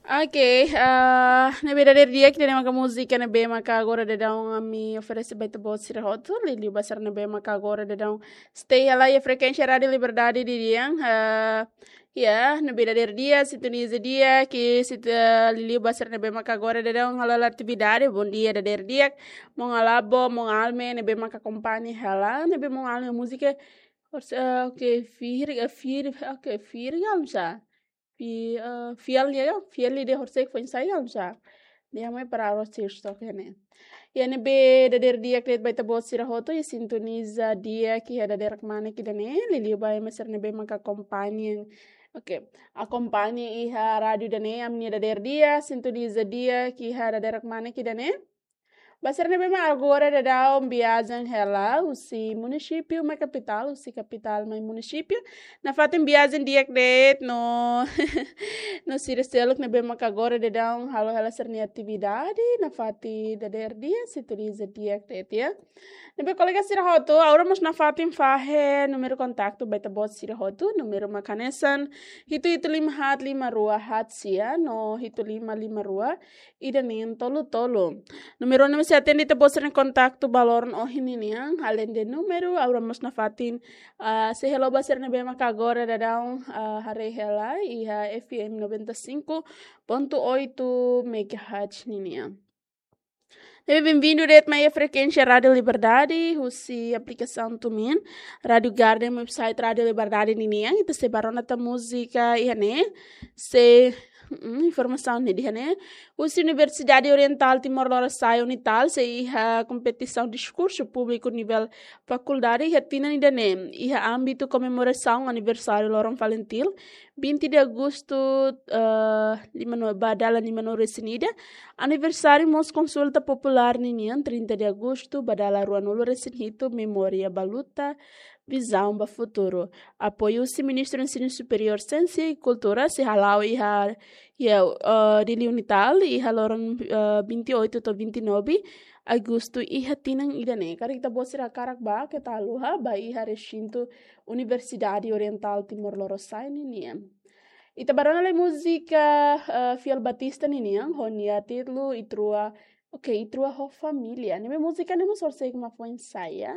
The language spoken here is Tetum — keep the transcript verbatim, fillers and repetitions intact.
Oke, ah, ne'ebé dadeer di'ak ida-ne'e maka múzika ne'ebé maka agora daudaun ami oferese ba ita-boot sira hotu, liuliu ba sira ne'ebé maka agora daudaun stay hela iha frekuénsia Rádiu Liberdade nian, ah, ya, ne'ebé dadeer di'ak, sintoniza di'ak, ke sit-, ah, liuliu ba sira ne'ebé maka agora daudaun halo atividade, bondia dadeer di'ak, maun Alabo, maun Alme, ne'ebé maka akompaña hela, ne'ebé maun Alme múzika, hors-, ah, oke, fir, ah, fir, oke, fir, ya, sa. Fi-, eh, fiel ya, fiel ida horisehik foin-sa'e ya, sa. Di'ak mai para arroz sir stock ya ne'e. Ya ne'ebé dadeer di'ak de'it ba ita-boot sira hotu, ya sintoniza di'ak iha dadeer kmanek ida-ne'e, liuliu ba ema sira ne'ebé maka akompaña. Oke, akompaña iha rádiu ida-ne'e, ami-nia dadeer di'ak, sintoniza di'ak iha dadeer kmanek ida-ne'e. Ba sira ne'ebé mak agora daudaun viajen hela, husi munisípiu mai kapitál, husi kapitál mai munisípiu. Nafatin viajen di'ak de'it no, no sira seluk ne'ebé mak agora daudaun halo hela sira-nia atividade, nafatin dadeer di'ak, sintoniza di'ak de'it ya. Ne'ebé kolega sira hotu, agora mós nafatin fahe númeru kontaktu ba ita-boot sira hotu, númeru mak hanesan hitu hitu lima haat lima rua haat sia, no hitu lima lima rua ida neen tolu tolu. Númeru ne'e mós sei atende ita-boot sira-nia kontaktu ba loron ohin ninian, além de númeru, agora mós nafatin, ah, sei halo ba sira ne'ebé maka agora daudaun, ah, haree hela iha F M noventa e cinco ponto oito megahertz ninian. Ne'ebé benvindu de'it mai iha frekuénsia Rádiu Liberdade, husi aplikasaun TuneIn, Rádiu Garden, website Rádiu Liberdade ninian, ita sei bá rona tan múzika iha ne'e, sei, mm, informasaun ne'e iha ne'e. Husi Universidade Orientál Timor Lorosa'e, UNITAL, sei iha kompetisaun diskursu públiku nivel fakuldade iha tinan ida-ne'e, iha ámbitu komemorasaun aniversáriu Loron Falintil, vinte de agosto, eh, lima no-, ba dala lima nulu resin ida, aniversáriu mós konsulta populár ninian, trinta de agosto, ba dala rua nulu resin hitu, memória ba luta, vizaun ba futuru. Apoiu husi Ministru Ensinu Superiór, Siénsia i Kultura, sei hala'o iha, iha, eh, Dili UNITAL, iha loron, eh, vinte e oito to'o vinte e nove agostu iha tinan ida-ne'e. Karik ita-boot sira hakarak bá, keta haluha, bá iha resintu Universidade Orientál Timor Lorosa'e ninian. Ita bá rona lai múzika, eh, Fiel Batista ninian, ho nia títulu Ita Rua, oke, Ita Rua ho Família. Ne'ebé múzika ne'e mós horisehik mak foin-sa'e ya.